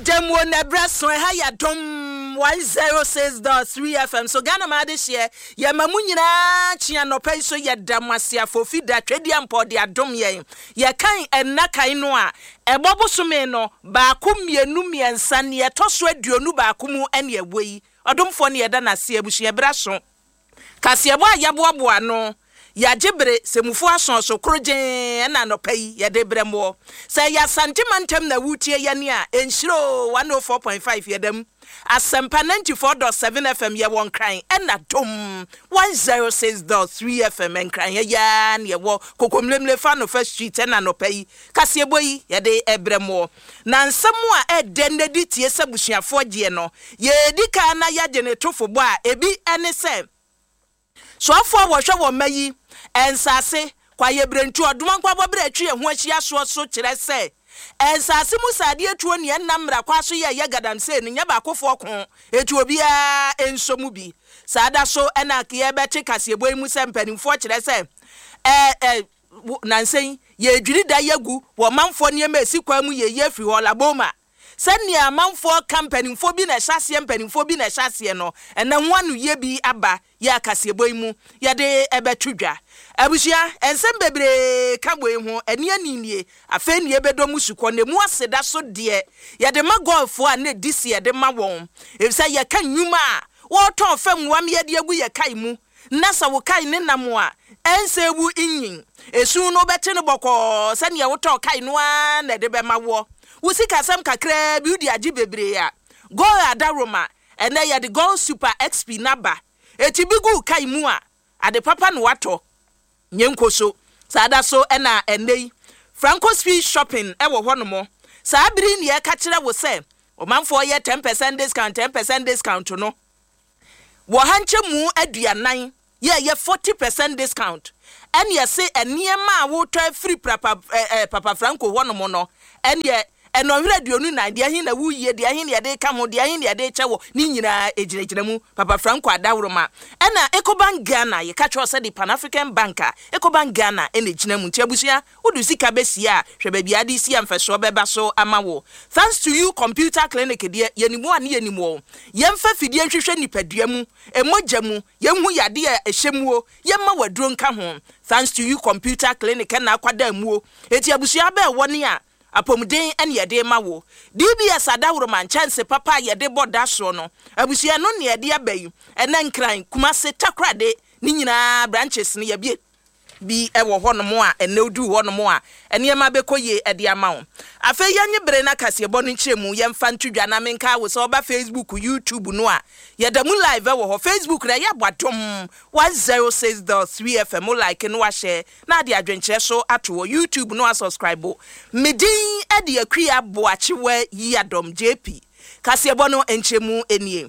Yɛda mu o, na ɛberɛ so, ɛha yɛ Adom 106.3 FM so, Ghana ma adehyeɛ, yɛma mo nyinaa kye anɔpa yi so, yɛda mo ase afofi da, Twedeampɔ de adom yɛn, yɛkan ɛnna kan no a, ɛbɔ bosome no, baako, mmienu, mmiɛnsa, neɛ ɛtɔ so 21 mu ɛne ɛwɔ yi, Ɔdomfoɔ ne yɛda no ase, abusua berɛ aso. Kaseɛbɔ a yɛaboaboa ano, yɛagye bere, sɛ mufo asɔɔso koro gyee ɛna anɔpa yi yɛde rebrɛ moɔ. Sɛ ɛyɛ Asante mantam na woretie yɛne a, ɛnhyira oo, 104.5 yɛda mu. Asɛmpa 94.7 FM yɛwɔ Nkran ɛna Dom 106.3 FM Nkran ha yi ara na yɛwɔ Kokomlemle Fanofa Street ɛna anɔpa yi kaseɛbɔ yi yɛde rebrɛ moɔ. Na nsɛm a ɛdɛ nnɛ di tie sɛ abusuafoɔ gyeɛ no, yɛredi kan na yɛagye ne tofobɔ a ebi ne sɛ, Soafoɔ a wɔhwɛ wɔn mma yi nsase, kwaeɛbirentuo, ɔdomankɔ abɔberɛ a atwi yɛn ho ahyia soɔ so kyerɛ sɛ nsase mu sradeɛ tuo nea ɛnam mmara kwan so yɛ ɛyɛ galamsey no nyɛ baakofoɔ ko, enti obiara nsɔ mu bi. Saa da so na yɛrebɛte kaseɛbɔ yi mu sɛ mpanimfoɔ kyerɛ sɛ ɛ Wo, nnansa yi, yɛredwiri da yi agu wɔ ɔmanfoɔ nneɛma a ɛsi kwan mu yɛyi afiri hɔ, Laboma. Sɛnea amanfoɔ ka mpanimfoɔ bi na ɛhyɛ aseɛ, mpanimfoɔ bi na ɛhyɛ aseɛ no, ɛnɛ ho anoyie bi aba yɛ akaseɛbɔ yi mu, yɛde bɛto dwa. Abusua, nsɛm bebree ka wei ho, ɛne ani nie, afei na yɛbɛdɔ mu sukɔ, na ɛmu aseda so deɛ, yɛde ma golffoɔ a na ɛdi se yɛde ma wɔn, efisɛ yɛka nnwuma a wɔretɔn fam nwameɛ de agu yɛ kae mu, Na sɛ wo kae ne nam a, ɛnsɛ wu nnyin. Esu no wobɛte no bɔkɔɔ sɛnea wotɔɔ kae no ara na ɛde bɛma woɔ. Wo sikasɛm kakraa bi wode agye bebree a, Gold adaworoma, ɛnnɛ yɛde Gold Super XP no aba. Eti bi gu wo kae mu a, ade papa na woatɔ. Nyɛ nkoso. Saa da so na ɛnnɛ yi, Franco Speed Shopping wɔ hɔnom. Saa bere yi na yɛreka kyerɛ wo sɛ ɔmanfoɔ yɛ 10% discount, 10% discount no. Wɔ ha nkyɛmu 40 yɛ ɛyɛ 40 percent discount ɛne ɛse nneɛma a wotɔ afiri prapa ɛɛ Papa Franco hɔ nom no ɛneɛ ɛnɔnhwere 24 deɛ ɛhe na woyie deɛ ɛhe na yɛde reka ho deɛ ɛhe na yɛde rekyɛ wɔ ne nyinaa ɛgyinagyina mu Papa Franco adaworoma ɛna Ecobank Ghana yɛka kyerɛ wo sɛ de Pan African Bank a Ecobank Ghana ɛna ɛgyina mu nti abusua Wode sika bɛsie a, hwɛ baabi a ade resi a mfɛsoɔ bɛba so ama wo. Thanks to you Computer Clinic deɛ, yɛnim wo a ne yɛnim wo. Yɛmfa fidie nhwehwɛ nipadua mu, mogya mu, yɛnhu yadeɛ a ɛhyɛ muo, yɛmma wo aduro nka ho. Thanks to you Computer Clinic ɛna akwadaa muo. Enti abusua abɛɛ wɔ ne a, apɔmuden ɛne yɛde rema wo. DBS adaworoma, nkyɛnse papa a yɛde bɔ da soɔ no, abusua ɛno ne yɛde aba yi. Ɛnɛ Nkran, Kumase, Takoradi, ne nyinaa branches no yɛabue. bi wɔ hɔnom a ɛnnɛ woduu hɔnom a, nneɛma bɛkɔ yie de ama wo. Afei yɛnye bere na kaseɛbɔ no nkyerɛmu yɛmfa nto dwa na menkaa wo sɛ woba Facebook, YouTube no a, yɛda mu live wɔ hɔ. Facebook no ɛyɛ Aboadom 106.3 FM, wo like na wahyɛ na ade adwenkyerɛ so ato hɔ. YouTube no asubscribe. Me din de Akua Boakyewa Yiadom, JP. Kaseɛbɔ no nkyerɛmu nie.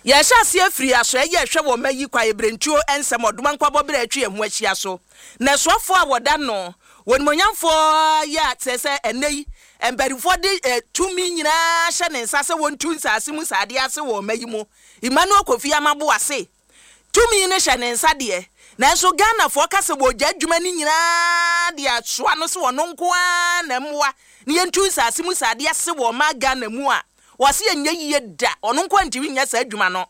Yɛrehyɛ aseɛ afiri asoɛeɛ a ɛhwɛ wɔ mma yi kwaeɛbirentuo nsɛm ɔdoma nkwabɔ berɛ a atwi yɛn ho ahyia so. Na asuafoɔ a wɔda no wɔ animuonyamfoɔ yi a kyerɛ sɛ ɛnnɛ yi mpanimfoɔ de tumi nyinaa hyɛ ne nsa sɛ wɔntu nsase mu sradeɛ ase wɔ ɔma yi mu. Emmanuel Kofi Amaboah se tumi no hyɛ ne nsa deɛ, nanso Ghanafoɔ ka sɛ wɔregya adwuma no nyinaa de asoa no sɛ ɔno nko ara na mmoa na yɛntu nsase mu sradeɛ ase wɔ ɔman Ghana mu a, Wɔse ɛnyɛ yie da, ɔno nkoa ntumi nyɛ saa adwuma no.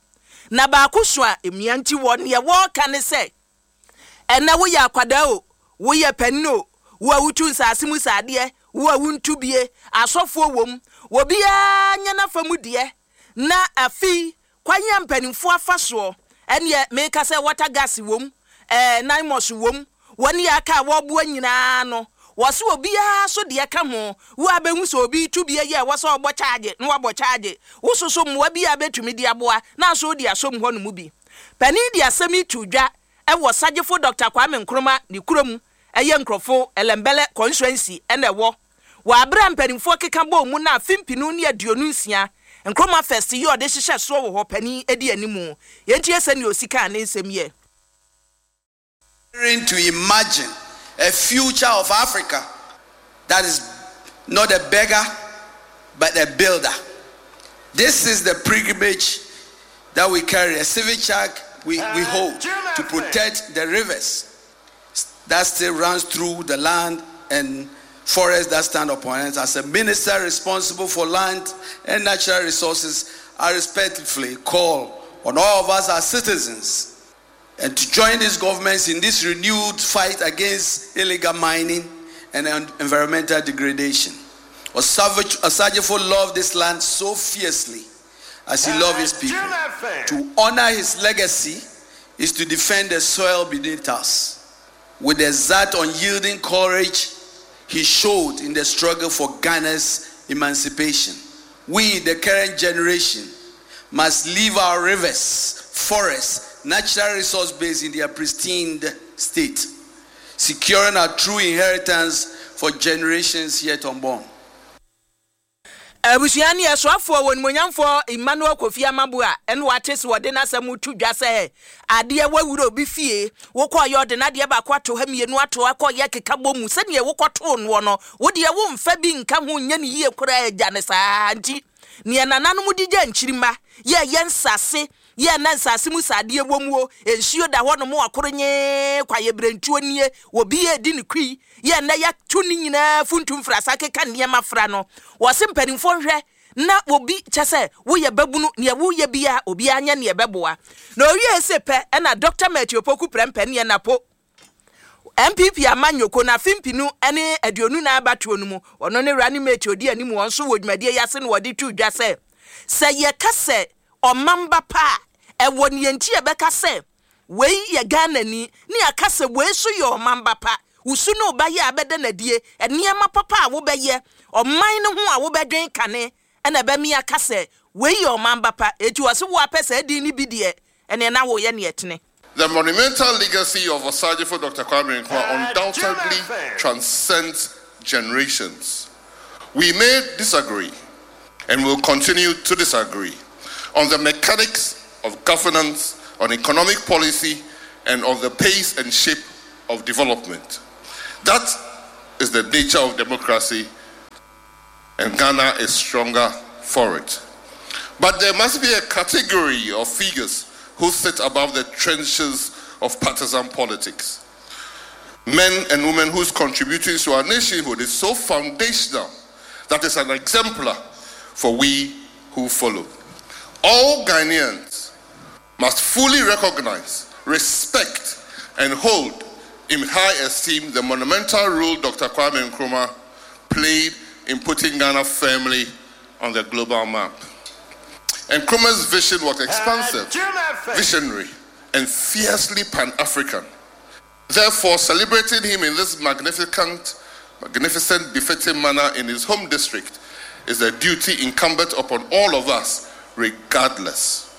Na baako so a emia nti wɔ neɛ wɔreka ne sɛ, ɛnɛ woyɛ akwadaa o, woyɛ panin o, wo a wotu nsaase mu saadeɛ, wo a wontu bie, asɔfoɔ wom, obiara nyɛ n'afa mu deɛ, na afei Kwan a mpanimfoɔ afa soɔ, ɛneɛ meka sɛ water gas wom, ɛɛ Naimos wom, wɔn yɛ aka a wɔreboa nyinaa no, wɔse obiara so deɛ ka ho, wo a bɛhu sɛ obi retu bi ayi a ɛwɔ sɛ ɔbɔ kyaagye na wabɔ kyaagye, wo so so mmoa bi a bɛtumi de aboa na nso wode asɔ mu hɔ nom bi. Panin de asɛm yi too dwa wɔ Sagyefo Dɔkta Kwame Nkrumah ne kurom, ɛyɛ nkurɔfo Ellembelle Constituency na ɛwɔ. Wɔ aber a mpanimfoɔ keka bɔɔ mu na afe mpenu ne 26 Nkrumah Fest yi a ɔde hyehyɛ soɔ wɔ hɔ panin di animu. Yɛntie sɛnea ɔsi kaa ne nsɛm yɛ. To imagine a future of Africa that is not a beggar but a builder. This is the pilgrimage that we carry, a civic charge we, we hold to protect the rivers that still runs through the land and. forests that stand upon it. As a minister responsible for land and natural resources, I respectfully call on all of us as citizens and to join these governments in this renewed fight against illegal mining and environmental degradation. Osagyefo loved this land so fiercely as he loved his people. To honor his legacy is to defend the soil beneath us. With the exact unyielding courage he showed in the struggle for Ghana's emancipation. We, the current generation, must leave our rivers, forests, natural resource base in their pristine state, securing our true inheritance for generations yet unborn. Abusua ne ɛsoafoɔ Onimuonyamfoɔ Emmanuel Kofi Amabu a ɛna wate se wɔde n'asɛm reto dwa sɛ adeɛ wawura obi fie, wokɔeɛ ɔde n'adeɛ baako ato ha mmienu ato ha kɔeɛ keka bɔ mu sɛdeɛ wokɔtoo noɔ no wodeɛ womfa bi nka ho nyɛ no yie koraa gya no saa nti neɛ nananom de gya nkyirimma yɛ yɛ nsase yɛ na nsase mu sadeɛ wɔ muo nsuo da hɔ nom akoro nyee kwaeɛ nie obi yɛ di ne kui yɛ nnɛ yɛato ne nyinaa funtum frasa keka nneɛma fra no. Wɔse mpanimfoɔ nhwɛ na obi kyɛ sɛ woyɛ babunu neɛ woyɛ bia obiara nyɛ neɛ bɛboa na owie se pɛ. Ɛna Dr Matthew Opoku Prɛmpɛ neɛ napo NPP ama nyoko na afe 2024 abatoɔ no mu, ɔno ne running mate odi anim. Wɔn nso wɔ dwumadie yi ase na wɔde to dwa sɛ yɛka sɛ ɔmamba pa a ɛwɔ neɛ nti yɛbɛka sɛ wei yɛ Ghanani ne aka sɛ wei so yɛ ɔmamba pa. Wusu ne ɔba yɛ a bɛda n'adie nneɛma papa a wobɛyɛ ɔman no ho a wobɛdwen kane ɛna ɛbɛmi aka sɛ wei yɛ ɔmamba pa. Eti wɔse wo apɛ sɛ adi ne bi deɛ ɛneɛ na woyɛ neɛ tene. The monumental legacy of Osagyefo Dr. Kwame Nkrumah undoubtedly transcends generations. We may disagree, and will continue to disagree, on the mechanics of governance, on economic policy, and on the pace and shape of development. That is the nature of democracy, and Ghana is stronger for it. But there must be a category of figures who sit above the trenches of partisan politics. Men and women whose contributions to our nationhood is so foundational that it's an exemplar for we who follow. All Ghanaians must fully recognize, respect, and hold in high esteem the monumental role Dr. Kwame Nkrumah played in putting Ghana firmly on the global map. Nkrumah's vision was expansive, visionary, and fiercely Pan African. Therefore, celebrating him in this magnificent, befitting manner in his home district is a duty incumbent upon all of us, regardless.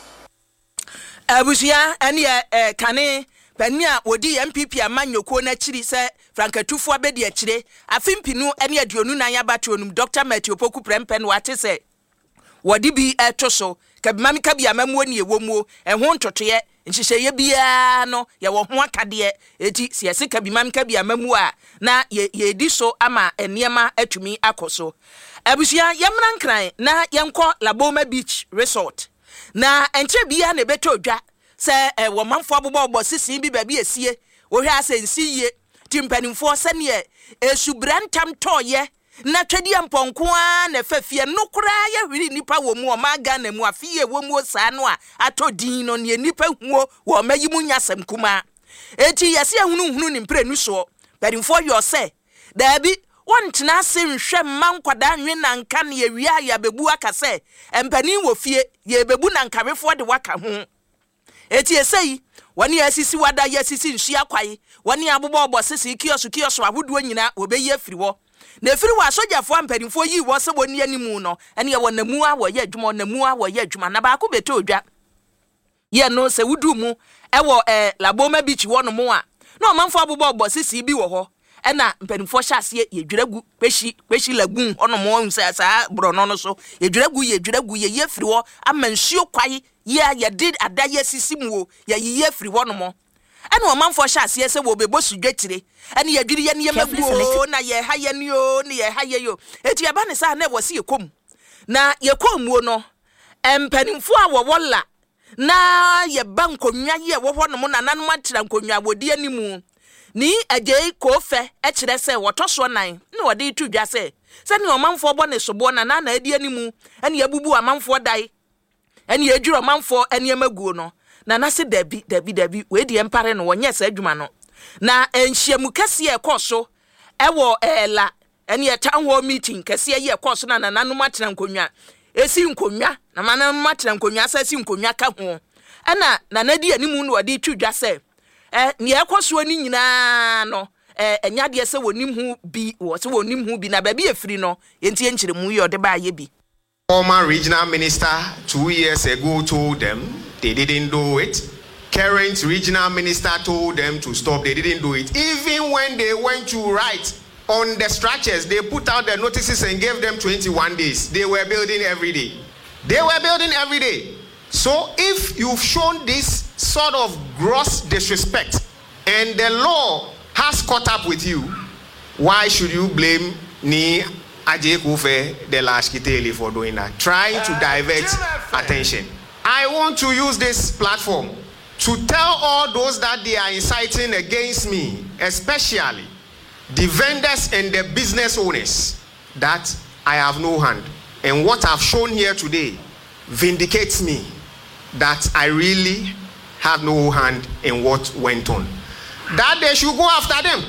Abusua, ɛne ɛ kane panin a wɔdi NPP ama nnwokuo n'akyiri sɛ frankatufoɔ abɛdi akyire afe 2024 abatoɔ no mu, Dr Matthew Opoku Prɛmpɛ no wate sɛ wɔde bi ɛto so kabimami kabi amamuo ne ɛwɔ muo ɛho ntotoeɛ nhyehyɛeɛ biara no yɛwɔ ho akadeɛ. Eti sɛ yɛse kabimam kabi amamuo a na yɛdi so ama nneɛma atumi akɔ so. Abusua, yɛmmra Nkran na yɛnkɔ Laboma Beach Resort na nkyerɛ biara na ɛbɛtɔ dwa sɛ ɛwɔ manfoɔ abobɔbɔ sisi bi baabi esie wohwɛ asɛ nsi yie ti mpanimfoɔ sɛneɛ esubra ntam tɔɔyɛ na twɛdeɛ mpɔnko ara na ɛfɛ fie no koraa yɛhwere nnipa wɔ mu ɔman Ghana mu afe yie wɔ mu saa no a atɔ din no neɛ nnipa huo wɔ ɔma yi mu nya asɛm kumaa. Eti yɛsɛ yɛhunuhunu ne mprenu soɔ mpanimfoɔ yɛ ɔsɛ daabi wɔntena ase nhwɛ mma nkwadaa nwe nanka ne yɛwie a yɛabɛbu aka sɛ mpanin wɔ fie yɛbɛbu nankawefoɔ de waka ho. Eti ese yi wɔne asisi wada yɛ asisi nsuo akwae wɔne abobɔbɔ sisi kiosk kiosk ahodoɔ nyinaa wɔbɛyi afiri hɔ na efiri wɔ asogyafoɔ mpanimfoɔ yi wɔ sɛ wɔn anim no ɛne ɛwɔ namu a wɔyɛ adwuma namu a wɔyɛ adwuma na baako bɛtɔ odwa yɛ no sɛ wudu mu ɛwɔ Laboma Beach hɔ nom a na ɔmanfoɔ abobɔbɔ sisi bi wɔ hɔ ɛna mpanimfoɔ hyɛ aseɛ yɛdwira gu Kpeshie Kpeshie Lagoon hɔnom ɔhu sɛ saa borɔno no so yɛdwira gu yɛdwira gu yɛyi afiri hɔ ama nsuo kwae yɛ a yɛde ada yɛ sisi mu o yɛyiyi afiri hɔnom. Ɛna ɔmanfoɔ hyɛ aseɛ sɛ wɔbɛbɔ sudwa tire ɛne yɛdwiri yɛ nneɛma gu o na yɛha yɛ ne o ne yɛha yɛ yo. Eti ɛba ne saa na ɛwɔ se yɛkɔ mu na yɛkɔ muo no mpanimfoɔ a wɔwɔ la na yɛba nkonnwa yi a ɛwɔ hɔnom nananom atena nkonnwa a wɔdi animu. Nii Adjei Koofɛ kyerɛ sɛ wɔtɔ soɔ nan na wɔde reto dwa sɛ sɛdeɛ ɔmanfoɔ bɔ ne soboɔ na na na adi animu ne abubu amanfoɔ dae ne adwiri ɔmanfoɔ nneɛma guo no, Nana se dabi, dabi, dabi, wei deɛ mpare no, wɔnyɛɛ saa adwuma no. Na nhyiamu kɛseɛ a ɛkɔɔ so wɔ La ɛneɛ town hall meeting kɛseɛ yi ɛkɔɔ so na nananom atena nkonnwa esi nkonnwa na nananom atena nkonnwa asa si nkonnwa ka ho ɛna nana di anim na ɔde to dwa sɛ ɛ nea ɛkɔ soɔ no nyinaa no ɛ ɛnyɛ adeɛ sɛ wɔnim ho bi wɔ sɛ wɔnim ho bi na baabi efiri no yɛntie nkyerɛmu yi ɔde baayɛ bi. Former regional minister 2 years ago told them they didn't do it. Current regional minister told them to stop, they didn't do it. Even when they went to write on the structures, they put out the notices and gave them 21 days. They were building every day. They were building every day. So if you've shown this sort of gross disrespect and the law has caught up with you, why should you blame Nii Adjei Kofe de la Ashkiteli for doing that? Trying to divert attention. I want to use this platform to tell all those that they are inciting against me, especially the vendors and the business owners, that I have no hand. And what I've shown here today vindicates me that I really have no hand in what went on. That they should go after them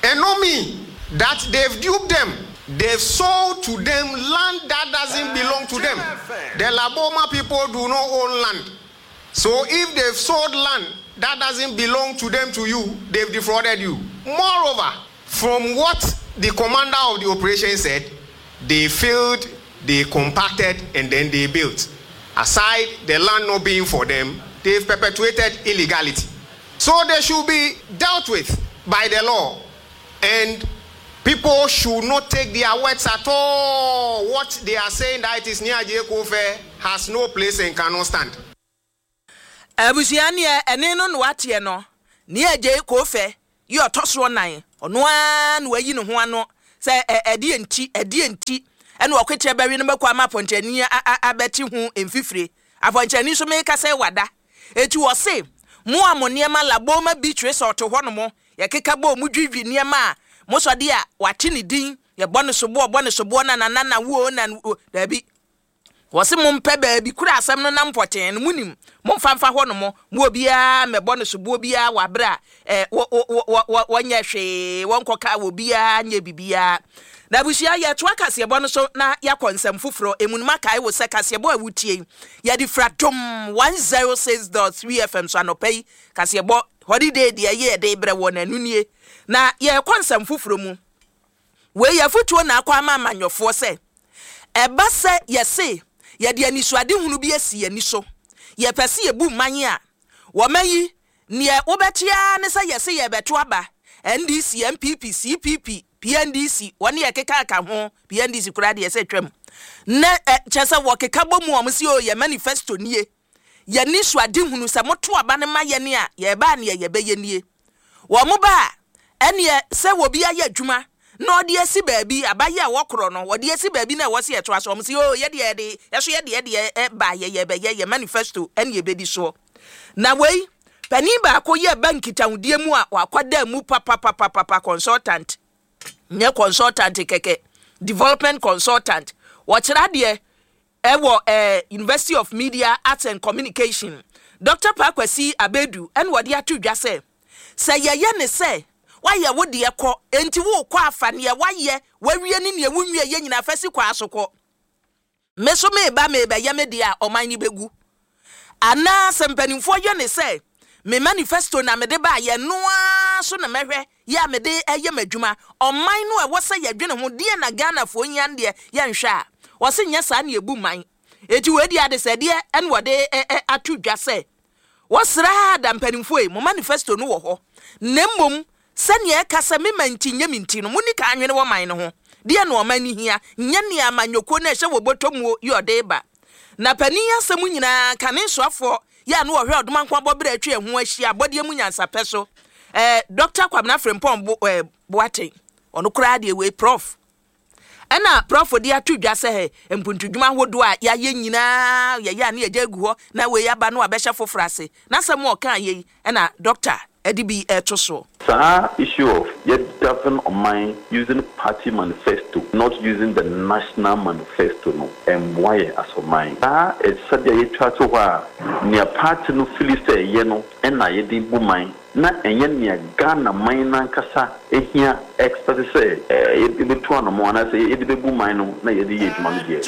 and not me. That they've duped them. They've sold to them land that doesn't belong to them. The Laboma people do not own land. So if they've sold land that doesn't belong to them to you, they've defrauded you. Moreover, from what the commander of the operation said, they filled, they compacted, and then they built. Aside the land not being for them, they've perpetuated illegality. So they should be dealt with by the law. And people should not take their words at all. What they are saying that it is Nii Adjei Kofe has no place and cannot stand. Abusua neɛ ɛne no na wateɛ no, Nii Adjei Kofe yi ɔtɔ soɔ nan, ɔno ara na wayi ne ho ano sɛ ɛdeɛ nti, ɛdeɛ nti ɛna ɔkweteɛ bɛwe no mako ama apɔnkyerɛni abɛte ho mfifire. Apɔnkyerɛni nso meka sɛ wada. Eti wɔse, mo a mo nneɛma Laboma Beach Resort hɔ nom, yɛkeka bɔɔ mu dwidwi nneɛma a mosɔ de a wate ne din, yɛbɔ no soboɔ, bɔ no soboɔ na na na na wuo na wuo, daabi. Wɔse mompɛ baabi kura asɛm no nam pɔtee no, monim, momfa mfa hɔ nom, mo obiara mmɛbɔ no soboɔ biara wɔ aberɛ a eh, wɔ, wɔ, wɔ, wɔ, wɔnyɛ hwee, wɔnkɔka wɔ biara nyɛ bibiara. Na abusua, yɛtoa kaseɛbɔ no so na yɛakɔ nsɛm foforɔ emu no. Makae wo sɛ kaseɛbɔ a wotie yi, yɛde fira Dom 106.3 FM so anɔpa yi. Kaseɛbɔ holiday deɛ ɛyɛ yɛde brɛ wɔ na ɛno nie. Na yɛrekɔ nsɛm foforɔ mu. Wei yɛ afotuo na akɔ ama amanyɔfoɔ sɛ, ɛba sɛ yɛse yɛde anisoadehunu bi asi yɛn ani so, yɛpɛ sɛ yɛbu man a, wɔma yi, neɛ wobɛte ara ne sɛ yɛse yɛrebɛto aba, NDC, NPP, CPP, PNDC, wɔne ɛkeka ka ho, PNDC koraa deɛ sɛ twam. Na ɛ, kyerɛ sɛ wɔkeka bɔ mu a wɔn se o yɛ manifesto nie, yɛn anisoadehunu sɛ moto aba no ma yɛn a, yɛreba a neɛ yɛbɛyɛ nie. Wɔn ba a, ɛneɛ sɛ obi ayɛ adwuma na ɔde asi baabi, abayɛ a wɔkorɔ no, wɔde asi baabi na ɛwɔ sɛ yɛtoa so, wɔn se o yɛdeɛ yɛde, yɛso yɛdeɛ deɛ ɛba yɛ yɛbɛyɛ yɛ manifesto ɛne yɛbɛdi soɔ. Na wei, panin baako yɛ ba nkitahodie mu a wakwadaa mu papapapapa consultant, nyɛ consultant kɛkɛ, development consultant, wɔkyerɛ adeɛ ɛwɔ eh, University of Media, Arts and Communication, Dr. Paa Kwasi Abedu ɛna wɔde ato dwa sɛ, sɛ yɛyɛ ne sɛ woayɛ wo deɛ kɔ, enti worekɔ afa neɛ woayɛ, wawie ne neɛ wonwie yɛ nyinaa fa si kwaa so kɔ. Me so meba merebɛyɛ me deɛ a ɔman no bɛgu. Anaa sɛ mpanimfoɔ yɛ ne sɛ me manifesto na mede baayɛ no ara so na mɛhwɛ yɛ a mede ɛyɛ m'adwuma. Ɔman no a ɛwɔ sɛ yɛdwene ho deɛ na Ghanafoɔ hia no deɛ yɛnhwɛ a, wɔse nyɛ saa ne ɛbu man. Enti wei deɛ adesɛdeɛ ɛna wɔde ato dwa sɛ wɔsrɛ da mpanimfoɔ yi, mo manifesto no wɔ hɔ, na mmom sɛnea ɛka sɛ mema nti nyɛ me nti no, monni kan nwene wɔ man no ho. Deɛ na ɔman no hia, nyɛ nea amanyɔkuo no a ɛhyɛ wɔ bɔtɔ muo yi ɔde ba. Na panin asɛm nyinaa, kane soafoɔ yɛ a na ɔhwɛ ɔdomankoma bɔberɛ atwa ɛho ahyia abɔdeɛ mu nyansapɛ so, eh, Dr. Kwabena Frimpong Bo, eh, Boateng, ɔno koraa deɛ wei Prof. Ɛna Prof de ato dwa sɛ mpuntudwuma ahodoɔ a yɛayɛ nyinaa yɛyɛ a ne yɛgya agu hɔ na wei aba no abɛhyɛ foforɔ ase. N'asɛm a ɔkaa yei ɛna Dr. de bi reto soɔ. Saa issue of yɛ govern ɔman using party manifesto not using the national manifesto no ɛmmoa yɛn as ɔman. Saa sɛdeɛ yɛtwa to hɔ a nea party no fili sɛ ɛyɛ no na yɛde bu man na ɛnyɛ nea Ghana man no ankasa hia expect sɛ yɛbɛtu anamɔn anaasɛ yɛde bɛbu man no na yɛde yɛ adwuma no deɛ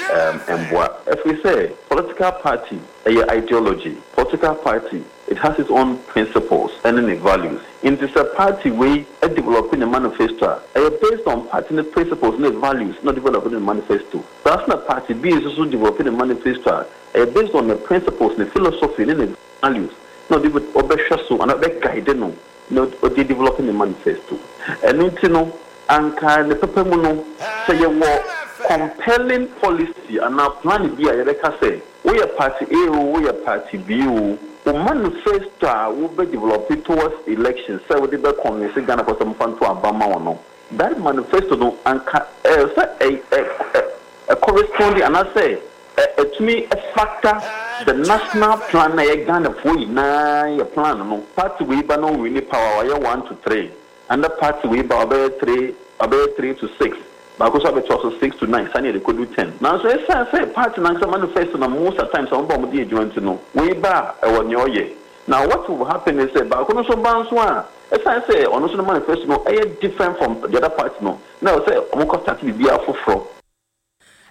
ɛmmoa. Ɛfiri sɛ political party ɛyɛ ideology, political party It has its own principles ɛne ne values. Nti sɛ party wei develop ne manifesto a, ɛyɛ based on party no principles ne values na ɔdevelop ne manifesto. Saa nso na party B nso so develop ne manifesto a, ɛyɛ based on ne principles, ne philosophy ne ne values na ɔde ɔbɛhwɛ so anaa ɔbɛ guide no na ɔde develop ne manifesto. Ɛno nti no, anka ne papa mu no, sɛ yɛwɔ compelling policy anaa plan bi a yɛbɛka sɛ, Woyɛ party A oo, woyɛ party B oo, wo manifesto a wo bɛ develop towards election sɛ wode bɛ convince Ghanafoɔ sɛ wɔmfa nto aba mma wo no, that manifesto no anka ɛwɔ sɛ ɛ ɛ ɛ ɛ correspondi anaasɛ ɛ ɛtumi factor the national plan no a ɛyɛ Ghanafoɔ nyinaa yɛ plan no. Party wei ba na ɔwini power a, wayɛ one to three. Ɛnna party wei ba a, ɔbɛyɛ three, ɔbɛyɛ three to six, baako nso abɛtoa so six to nine, sane yɛde kɔdu ten. Nanso ɛsiane sɛ party no ankasa manifesto na most at times wɔn ba a wɔde yɛ adwuma nti no, wei ba a, ɛwɔ nea ɔyɛ. Na what will happen ne sɛ, baako no nso ba nso a, ɛsiane sɛ ɔno nso ne manifesto no ɛyɛ different from the other party no, na ɛwɔ sɛ wɔkɔ start biribiara foforɔ.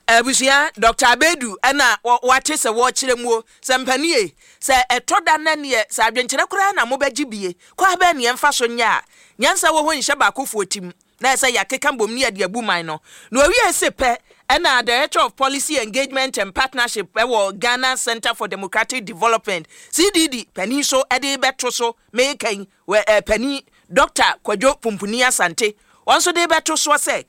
Abusua, Doctor Abedu na wate sɛ wɔrekyerɛ muo, sɛ mpanie, sɛ ɛtɔ da na neɛ sɛ adwenkyerɛ koraa na mobɛgye bie, kwaa bɛn ne yɛmfa so nyɛ a nyansa wɔ hɔ nhyɛ baakofoɔ tim, na ɛsɛ yɛakeka bom ne yɛde abu man no. Na ɔwiee se pɛ na Director of Policy Engagement and Partnership wɔ Ghana Centre for Democratic Development, CDD, panin so de rebɛto so meka yi, wɔ panin Doctor Kwadwo Pumpuni Asante, wɔn nso de rebɛto soɔ sɛ,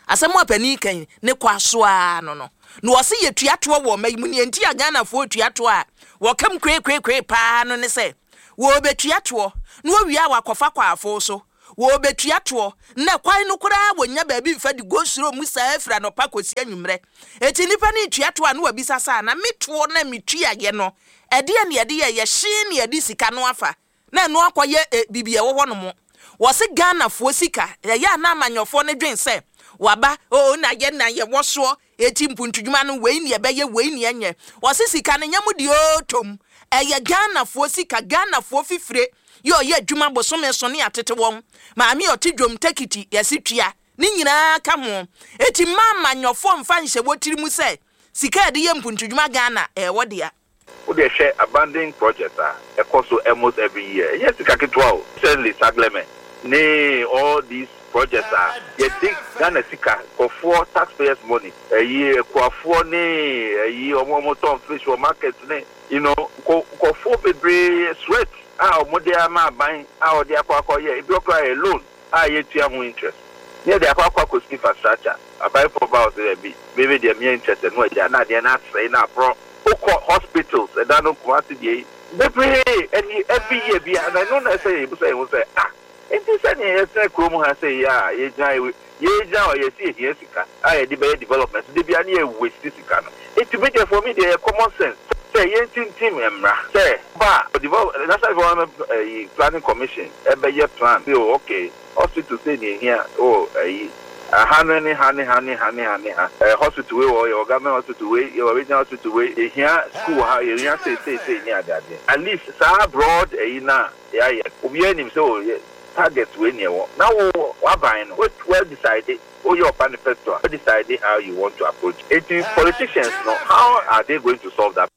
Asɛm a panin ka yi ne kwa so ara no no. Na wɔse yɛtua toɔ wɔ ɔma yi mu. Nea nti a Ghanafoɔ retua toɔ a wɔka mu koekoekoe paa no ne sɛ, wɔrebɛtua toɔ na wɔwie a wɔakɔfa kwaafo so. Wɔrebɛtua toɔ na kwan no koraa wɔnnya baabi mfa di go-slow mu saa firi anɔpa kɔsi anwummerɛ. Enti nnipa no retua toɔ a na wɔabisa sɛ, Ana me toɔ no a metuaeɛ no, ɛdeɛn na yɛde yɛeɛ? Hyee na yɛde sika no afa? Na ɛno akɔyɛ eh, biribi a ɛwɔ hɔ nom. Wɔse Ghanafoɔ sika, ɛyɛ a na amanyɔfoɔ no dwen sɛ waba, oh na yɛ na yɛwɔ soɔ, eti mpuntudwuma no wei ne ɛbɛyɛ, wei ne ɛnyɛ. Wɔse sika no nyɛ mo deɛ oo tom, ɛyɛ Ghanafoɔ sika, Ghanafoɔ fifire yɛ ɔyɛ adwuma bosome so ne yɛatete wɔn. Maame a ɔte dwom tekiti yɛse tua, ne nyinaa ka ho. Eti mma amanyɔfoɔ mfa nhyɛ wɔ tiri mu sɛ sika a yɛde yɛ mpuntudwuma Ghana ɛyɛ wɔ dea. Wo deɛ hwɛ abandon project a ɛkɔ so almost every year, ɛnyɛ sika ketewa o, recently Sagleme ne all these projects a yɛde Ghana sika, nkurɔfoɔ tax payers money, ɛyi akuafoɔ ne ɛyi wɔn a wɔtɔn fish wɔ market ne you know nkurɔfoɔ bebree sweat a wɔde ama aban a wɔde akɔ akɔyɛ, ebi wɔ koraa ɛyɛ loan. a yɛtua ho interest na yɛde akɔ akɔ akɔsi infrastructure abaefoɔ ba hɔ sɛ dabi me me deɛ menyɛ interested na wagyaa na adeɛ no asɛe na aporɔ wokɔ hospitals ɛda no Kumasi deɛ yi bebree ɛne every year biara na ɛno na ɛsɛ yɛbusa yɛn ho sɛ ah nti sɛdeɛ yɛtena kurom ha sɛ yi a yɛgyina yɛgyina hɔ yɛsi yɛhia sika a yɛde bɛyɛ development da biara ne yɛ waste sika no nti me deɛ for me deɛ yɛ common sense sɛ yɛntintim mmara sɛ ba a develop National Development ɛyi Planning Commission ɛbɛyɛ plan sɛ oh ok hospital sei na ehia oh ɛyi aha no ne ha ne ha ne ha ne ha ne ha ɛɛ hospital wei wɔ hɔ yɛwɔ government hospital wei yɛwɔ regional hospital wei yɛhia school wɔ ha yɛhia sei sei sei ne ade adeɛ at least saa broad ɛyi no a yɛayɛ no obiara nim sɛ oh yɛ target wei na ɛwɔ na wo w'aban no wa decide woyɛ wo manifesto a wa decide how you want to approach it enti politicians no how are they going to solve that.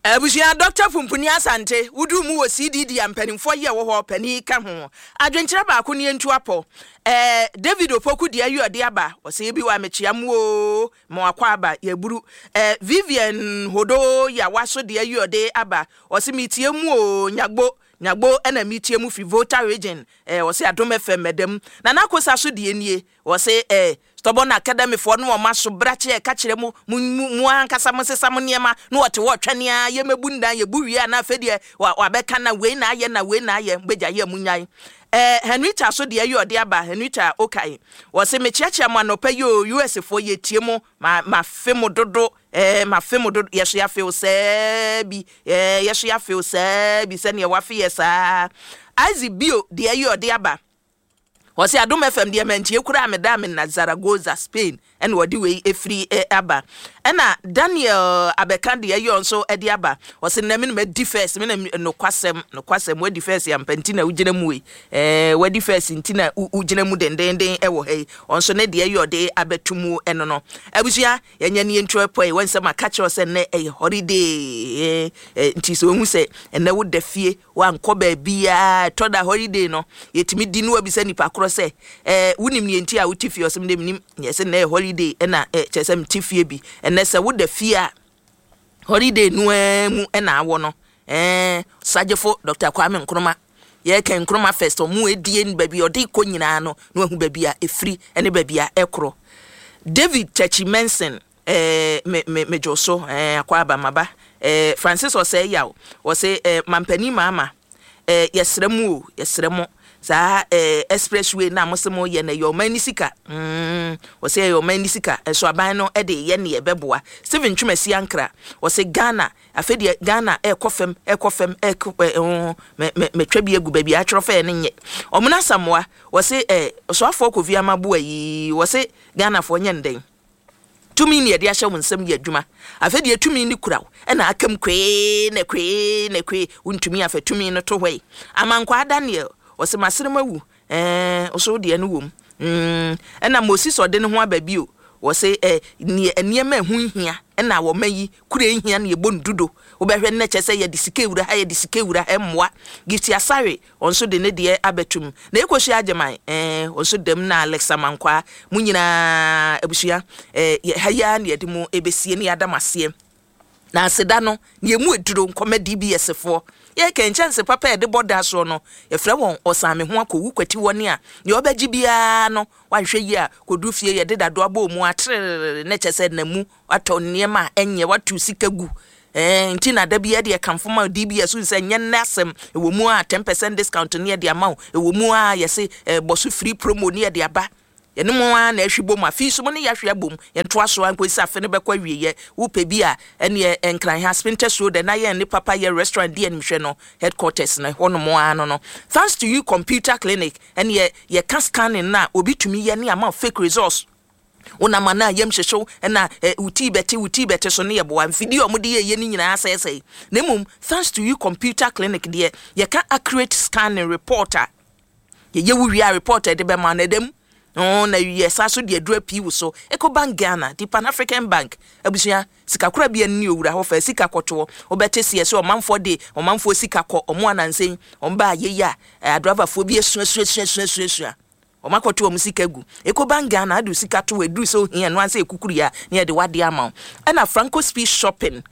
Abusua Dɔkta Pumpuni Asante, woduu mu wɔ CDD a mpanimfoɔ yi a ɛwɔ hɔ panin ka ho. Adwenkyerɛ baako nie ntu apɔ. Ɛɛ David Opoku deɛ ayi ɔde aba, ɔsɛ ebi wɔ a mekyea mo oo, ma wakɔ aba, yɛaburu. Ɛɛ Vivian Hodo Yawa so deɛ ayi ɔde aba, ɔse metie mu oo, Nyagbo, Nyagbo ɛna metie mu firi Volta Region, ɛɛ ɔse Adom FM ɛda mu. Nana Akosa so deɛ nie, Wɔse eh, stubborn academy foɔ no wɔn aso brakye ɛka kyerɛ mo, mo mo ankasa mo nsesa mo nneɛma na wɔte hɔ ɔtwɛne ara yɛmɛbu ndan yɛbu wie a na afei deɛ wa wabɛka na wei na ayɛ na wei na ayɛ mobɛgya yɛ mo nyae eh, Henrietta so deɛ yɛ ɔde aba Henrietta Okae wɔse mekyeakyea mo anɔpa yi o US foɔ yɛtie mo ma mafe mo dodo eh, mafe mo dodo yɛso yɛafe wo saa bi eh, yɛso yɛafe wo saa bi sɛdeɛ wafe yɛ saa. Isaac Bio deɛ yi ɔde aba. Ɔse Adom FM deɛ mantie koraa medaa me nna Zaragoza, Spain ɛna ɔde wei ɛfiri aba. Ɛna Daniel Abɛka deɛ yɔ nso ɛde aba. Ɔse nnɛ me na madi first, me na nokwasɛm, nokwasɛm wadi first ampa nti na wogyina mu ei. Ɛɛ wadi first nti na wogyina mu dendenden ɛwɔ ha yi. Ɔnso ne deɛ yɔ de abɛto mu ɛno no. Abusua yɛnyɛ ne yɛntu ɛpɔ yi, wɔn sɛ maka kyerɛ sɛ nnɛ ɛyɛ holiday nti sɛ wohu sɛ ɛnnɛ woda fie Wankɔ baabiara. Ɛtɔ da holiday no, yɛtumi di na wabisa nipa korɔ sɛ, eh, wonim neɛ nti a wote fie? Ɔse, medeɛ menim. Yɛse nnɛ yɛ holiday ɛna eh, kyerɛ sɛ mete fie bi. Ɛnnɛ sɛ woda fie a, holiday no ara mu ɛna awɔ no. Eh, Sagyefo Dr. Kwame Nkrumah, yɛreka Nkrumah first, ɔmo edie baabi a ɔde kɔ nyinaa no, na wahu baabi a ɛfiri ɛne baabi a ɛkorɔ. David Tachi Menson, Eh, me, me, me dwo so, eh, akwaaba, maba. Eh, Francis Ɔsɛe Yaw, ɔse, eh, Mampanin Maama, eh, yɛsrɛ mo o, yɛsrɛ mo, saa, eh, express way no a mose moyɛ no, ɛyɛ ɔman no sika, mm, ɔse ɛyɛ ɔman no sika, nso aban no de reyɛ neɛ ɛbɛboa. Stephen Twumasi Ankrah, ɔse Ghana, afei deɛ Ghana ɛrekɔ fam, ɛrekɔ fam, ɛrekɔ, eh, oh, me, me, metwa bi agu baabi a atwerɛ fɛɛ no nyɛ. Ɔmena Asamoah, ɔse, eh, Ɔsoafoɔ Kofi Amaboa yi, ɔse Ghanafoɔ nyɛ no dɛn? Tumi ne yɛde ahyɛ wo nsam yɛ adwuma. Afei deɛ tumi no kura wo na aka mu kwee na kwee na kwee. Wontumi afa tumi no to hɔ yi. Amankwaa Daniel, ɔse maserem awu eh, wo so wo deɛ no wom mm. Ɛna Moses ɔde ne ho aba bio, ɔse eh, neɛ nneɛma ɛho nhia ɛna wɔma yi kura nhia na yɛbɔ no dudo. Wobɛhwɛ no na kyerɛ sɛ yɛde sika awura ha, yɛde sika awura ha, ɛmmoa. Gifty Asare, Wɔn nso de ne deɛ abɛtum. Na Ekosua Agyeman, eh, wɔn nso dam na Alex Amankwaa, mo nyinaa abusua, eh, yɛ, ha yi ara na yɛde mo ɛbɛsie na yɛada mo aseɛ. Na aseda no, nea ɛmu aduro, nkɔma DBS foɔ. Yɛreka nkyɛnse papa a yɛde bɔ da soɔ no, yɛfrɛ wɔn ɔsan me ho akɔwu kwati wɔn a, nea ɔbɛgye biara no, wanhwɛ yie a, kɔduru fie yɛde dadoa bɔ mu a, trerere, na kyerɛ sɛ na mu Watɔ nneɛma a ɛnyɛ, watu sika gu. Ɛɛ nti na da biara deɛ kamfo ma DBS wohu sɛ nyɛ nnɛ asɛm. Ɛwɔ mu a 10% discount ne yɛde ama wo. Ɛwɔ mu a yɛse ɛɛ bɔ so free promo ne yɛde aba. Yɛne mo ara na ɛhwe bom. Afei nso mo ne yɛahwe abom. Yɛntoa so ara nkɔsi sɛ afe no bɛkɔ awieɛ. Wopɛ bi a, ɛneɛ Nkran ha, Spintex Road, ɛna yɛn ne Papa Yɛ Restaurant di animhwɛ no headquarters no, ɛhɔnom ara no no. Thanks to you Computer Clinic, ɛneɛ yɛka scanning no a obi tumi yɛ ne ama wo fake results. Wonam a na yam hyehye wo na wo tii bɛte wo tii bɛte so no yɛ boa. Mfidie a wɔde yɛeɛ no nyinaa asɛesɛe. Na mmom thanks to you computer clinic deɛ yɛka accurate scanning report a yɛyɛ wo wie a report a yɛde bɛma no ɛda mu. Oh, na yɛsa so de aduru apii wo so. Ecobank Ghana, the Pan African Bank, abusua, sikakorabea no ne owura hɔ fa sika kɔtoɔ. Wobɛte seɛ sɛ ɔmanfoɔ de ɔmanfoɔ sika kɔ, ɔmo anansa yi, ɔmo baa yei a, adravafoɔ bi asuasuasuasuasua. Wɔn akɔto wɔn sika agu. Ecobank Ghana ade wo sika to hɔ ɛduru sɛ ohia ɛno ara sɛ ɛkukuru yɛ a na yɛde w'adeɛ ama wo. Ɛna Franco Speed Shopping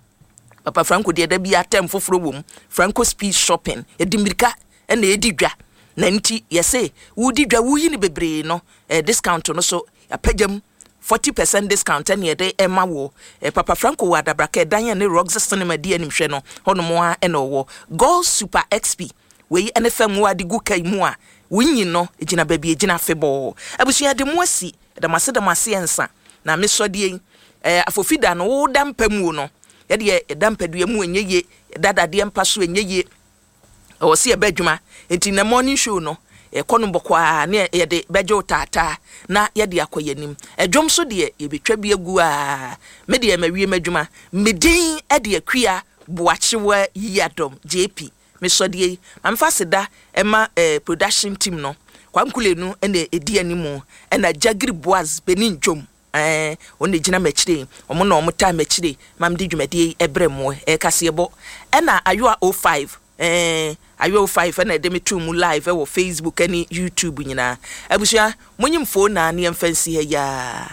Papa Franco deɛ da biara term foforɔ wɔ mu. Franco Speed Shopping yɛde mmirika ɛna ɛdi dwa na nti yɛse wodi dwa woyi no bebree no eh, discount no so yɛapagya mu 40% discount ɛne yɛde ɛma wo. Eh, Papa Franco wɔ Adabraka ɛdan ɛne Roxy Cinema di animhwɛ no hɔnom ara ɛna ɔwɔ. Gold Super XP Wei ne fam wo ade gu kai mu a wo nyin no gyina baabi egyina afebɔɔ. Abusua yɛde mo asi, yɛda mo ase da mo ase ɛnsa na me sɔ deɛ yi ɛɛ afofi da no wo da mpa mu o no yɛdeɛ yɛda mpadua mu ɛnyɛ yie yɛda dadeɛ mpa so ɛnyɛ yie ɛwɔ se yɛba adwuma nti nɛ morning show no yɛkɔ no bɔkɔ a ne yɛde bɛgye wo taataa na yɛde akɔ yɛnim ɛdwom so deɛ yɛbɛtwa bi agu a me deɛ mawie m'adwuma me din ɛde Akua Boakyewa Yiadom JP Me sɔ deɛ yi ma me fa aseda ma eh production team no Kwame Kulenu na ɛdi animu ɛna Jagiri Boaz Benin Dwom eh wɔn na ɛgyina m'akyire yi wɔn na wɔn taa m'akyire ma mede dwumadie yi ɛbrɛ mo eh kaseɛbɔ ɛna Ayowa 05 eh Ayowa 05 ɛna ɛde me too mu live ɛwɔ Facebook ɛne YouTube nyinaa abusua monyi mfoo naa ne yɛmfa nsi ha yi aa.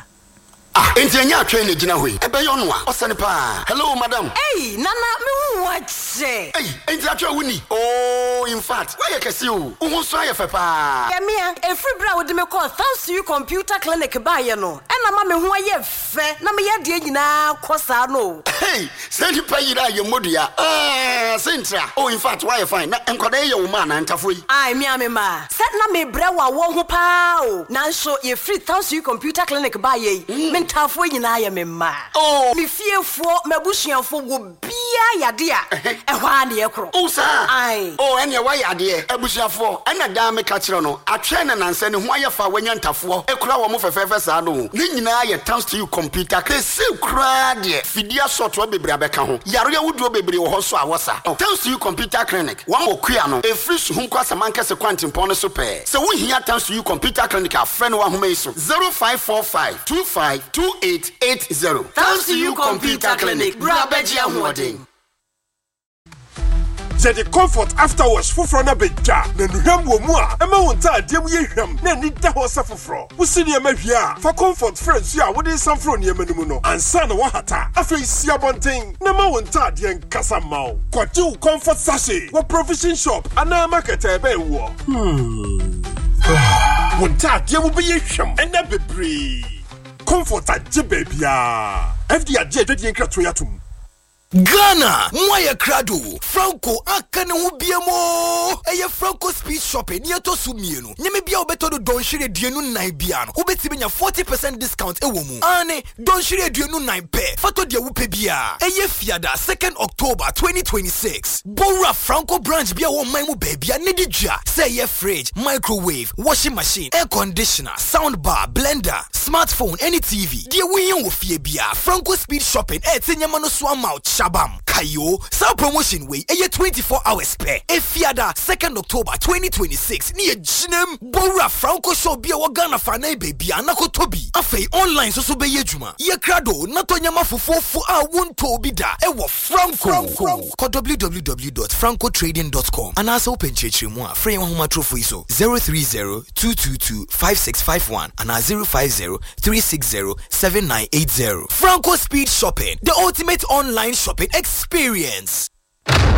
Ah enti ɛnyɛ atwɛn na egyina hɔ yi? Ɛbɛyɛ ɔno a? Ɔsɛ no paa. Hello madam. Ei Nana me hu wo akyɛ. Ei enti atwɛn wo ni? Oh infact woayɛ kɛse o, wo ho nso ayɛ fɛ paa. Yɛ mea, ɛfiri berɛ a wode me kɔɔ Thanks Computer Clinic baeɛ no ɛna ama me ho ayɛ fɛ na me yadeɛ nyinaa kɔ saa no o. Hey saa nipa yi yera yɛ mmɔdua aah sei ntra oh infact woayɛ fine na nkwadaa yi yɛ wo mma anaa ntafoɔ yi? Ae me a me mma. Sɛ na mebrɛ wɔ awɔ ho paa o, nanso yɛfiri Thanks Computer Clinic baeɛ yi, me ntaafoɔ. Ntafoɔ nyinaa yɛ me mma. Oh. Me fiefoɔ, m'abusuafoɔ, obiara yade a, ɛhɔ ara na yɛkorɔ. Oh saa? Ae. Oh ɛneɛ woayɛ adeɛ. Abusuafoɔ, ɛna daa meka kyerɛ no, atwɛn na nansɛ ne ho ayɛ fɛ a wanya ntafoɔ kura wɔn fɛfɛɛfɛ saa no o. Ne nyinaa yɛ thanks to you computer. Seesei koraa deɛ, fidie asɔɔtoa bebree abɛka ho. Yareɛ ahodoɔ bebree wɔ hɔ nso a wɔsa. Thanks to you computer clinic, wɔn wɔ Kua no, ɛfiri Suhum kɔ Asamankɛse kwantempɔn no so pɛɛ. Sɛ wohia Thanks to you computer clinic a, frɛ no wɔ ahoma yi so, 0545 25 2880. Thanks to you computer clinic, bra bɛgye ahoɔden. Yɛde Comfort After Wash foforɔ no abɛdwa, na nnuhwam wɔ mu a ɛma wo ntaadeɛ mu yɛ hwam na ani da hɔ sɛ foforɔ. Wosi nneɛma wie a, fa Comfort fra nsuo a wode resan foro nneɛma no mu no ansa na woahata. Afei si abɔnten na ma wo ntaadeɛ nkasa mma wo. Kɔgye wo Comfort sachet wɔ provision shop anaa market a ɛbɛn woɔ. Wo ntaadeɛ mu bɛyɛ hwam ɛnna bebree. Comfort agye baabiara. FDA agye adwadie nkratoɔ yi atom. Ghana, moayɛ krado! Franco aka ne ho biam oo! Ɛyɛ Franco Speed Shopping nea ɛtɔ so mmienu. Nneɛma biara a wobɛtɔ no dɔnhwere 24 biara no, wobɛtumi anya 40 percent discount wɔ mu. Aane, dɔnhwere 24 pɛ, fa tɔ deɛ wopɛ biara. Ɛyɛ Fiada, second October, 2026. Bɔ wura Franco branch bi a ɛwɔ ɔman mu baabiara na di dwa, sɛ ɛyɛ fridge, microwave, washing machine, air conditioner, sound bar, blender, smartphone ne TV. Deɛ wohia wɔ fie biara, Franco Speed Shopping ɛrete nneɛma no so ama wo kyabam. Kae o, saa promotion wei ɛyɛ 24 hours pɛ. Efiada, 2nd October 2026 ne yɛgyinam. Bɔ wura Franco shop bi a ɛwɔ Ghana fanan baabiara na kɔtɔ bi. Afei online nso so bɛyɛ adwuma. Yɛ krado na tɔ nneɛma fofoofo a wontɔɔ bi da ɛwɔ Franco. Kɔ www dot francotrading dot com anaasɛ wopɛ nkyerɛkyerɛmu a, frɛ yɛn ahomatorofo yi so, 030 222 5651 anaa 050 360 7980. Franco Speed Shopping, the ultimate online shopping experience.